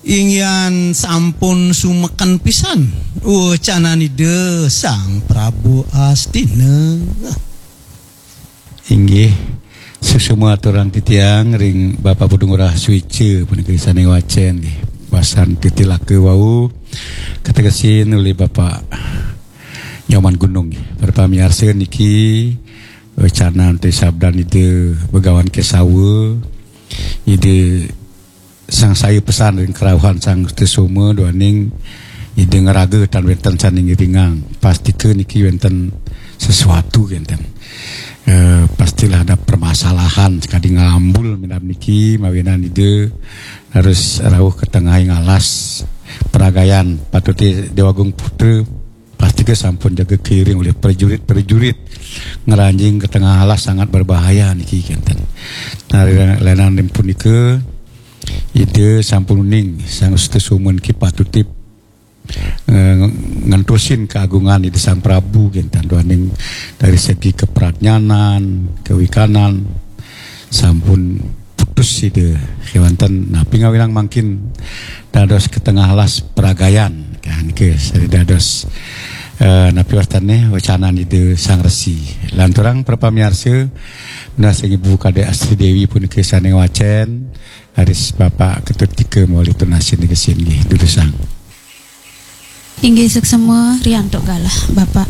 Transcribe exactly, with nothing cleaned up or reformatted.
Inggihan sampun sumeken pisan wecanan Ida Sang Prabu Astina. Inggih, suksma aturang titiang ring Bapak Putu Ngurah Suica punika sane ngwacen nggih. Pasan titilaka wau kategesin olih Bapak Nyoman Gunung nggih. Para pamiarsa, niki wecanan te sabdan Ida Begawan Kesawa, Ida sangsaya pesan ring karauhan Sang Sutasoma duaning Ida ngraga tan wenten sane ngiringang. Pastika niki wenten sesuatu kenten. Eh, pastilah ada permasalahan sakadi ngalambul minab niki mawinan Ida harus rauh ka tengahing alas pragayan. Patute Dewa Agung Putra pastika sampun jaga keliling olih prajurit-prajurit ngranjing ka tengah alas sangat berbahaya niki kenten. Nah, lenan ring punika Ida sampun uning Sang Sutasoma niki patutip eh, ngentusin keagungan Ida Sang Prabu kenten duaning dari segi kepradnyanan, kewikanan sampun putus Ida kewanten napi ngawinang mangkin dados ka tengah alas pragayan kan ke sari dados eh, napi wastane wecanan Ida Sang Resi. Lanturang para pamiarsa, menawi sing Ibu Kadek Astri Dewi punika sane ngwacen, aris Bapak Ketut Tika mawali tunasin niki nggih durusang. Inggih suksma riantuk galah, Bapak.